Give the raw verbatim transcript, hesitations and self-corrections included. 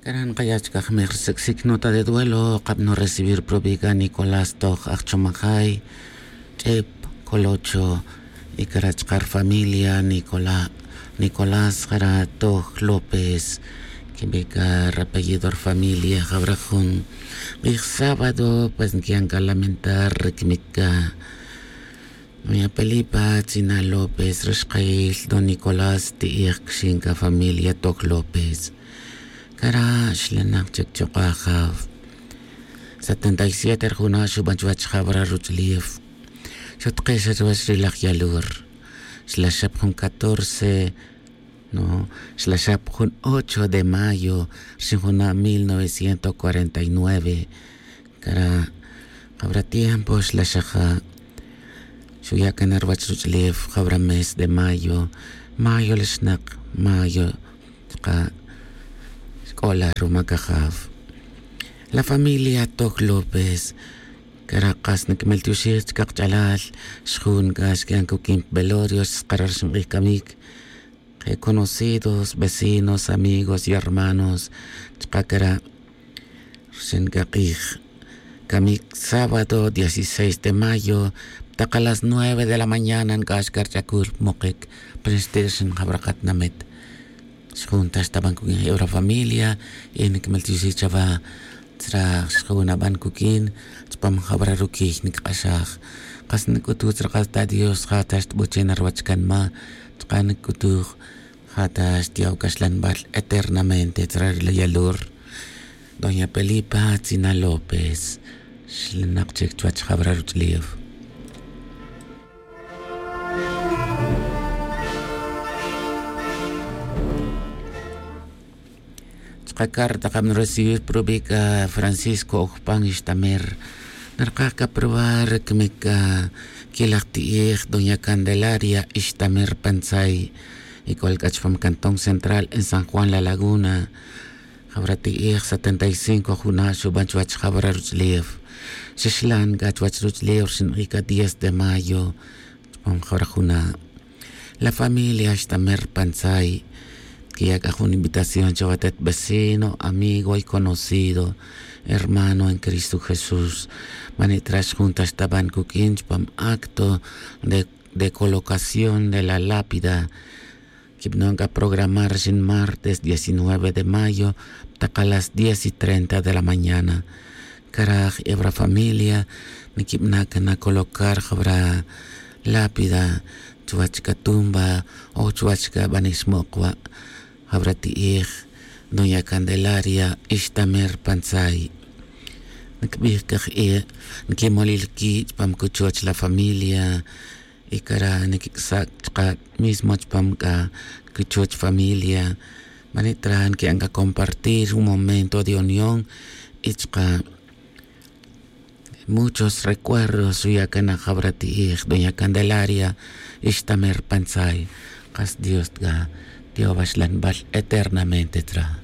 Cara' nkaya' chkaj mej rsic'sic nota de duelo kabno recibir probica nicolás toj ajchomajay, ch'ep, colocho, y cara' chka rfamilia nicolás, cara' toj lópez. Kibica rapellido rfamilia jawra jun k'ij sábado pues nkiyan ka lamentar rikmic ka. Maya pelipa tzina lópez rixkayil don nicolás ti'ij kxin ka familia toj lópez. Cara' xlanak chic chuk'a jaw setenta y siete rijuna' xuban chuwech jawra ruch'ulif. Xutke xa chuwech ri laj yalur. Xlaxap jun catorce, no, xlaxap jun ocho de mayo rixin juna' mil novecientos cuarenta y nueve. Cara' jawra tiempo xlaxaja'. Xuya' can ruwech ruch'ulif jawra mes de mayo. Mayo lixnak, mayo chka' xc'ola ruma cajaw. La familia toj lópez. Cara' kas niquimel tioxij chka kach'alal. Xjun c'a xqui'an cuquin pa velorio xskara' rixin k'ij camic. Je' conocidos, vecinos, amigos y hermanos chka cara'. Rixin c'a k'ij camic sábado dieciséis de mayo. Tak a las nueve de la mañana nc'ax c'a rch'acul mokic. Pero xti' rixin jawra katinamit xjun tax ta ban cuquin je' wra familia. Y niquimel tioxij chawa tzra xjun aban cuquin. Chupam jawra ruquiy niquik'axaj. Kas nic'utuj tzra kas ta dios ja tax tbuchen ruwech canma. Chka nic'utuj ja tax tiyaw caxlanbal eternamente tzra ri la yalur. Doña pelipa tzina lópez. Xlanak chic chuwech jawra ruch'ulif. Chka carta kabno recibir probica francisco ojpan ixtamer. Narkaj caprobar cmic ca quilaj ti'ij doña candelaria ixtamer pantzay. Y c'ol c'a chupam cantón central en san juan la laguna. Jawra ti'ij setenta y cinco juna' xuban chuwech jawra ruch'ulif. Xixlan c'a chuwech ruch'ulif rixin k'a diez de mayo. Chupam jawra juna'. La familia xtamer pantzay. Quiya' c'a jun invitación chawatet vecino, amigo y conocido, hermano en cristo jesús. Manitra xjun tax ta ban cuq'uin chupam acto de colocación de la lápida. Quibnon c'a programar rixin martes diecinueve de mayo tak a las diez y treinta de la mañana. Caraj ewra familia niquibna' cana colocar jawra lápida chuwech c'a tumba o chuwech c'a banic xmok' wa'. Jawra ti'ij doña candelaria ixtamer pantzay. Nicbij caj e' niquimolil qui' chupam cuchoch la familia. Y cara' niquic'sa' chka' mismo chupam c'a cuchoch familia. Manitra niqui'an c'a compartir un momento de unión y chka' muchos recuerdos xuya' cana jawra ti'ij doña candelaria ixtamer pantzay. Kas dios c'a tiyowaxlanbal eternamente tzra.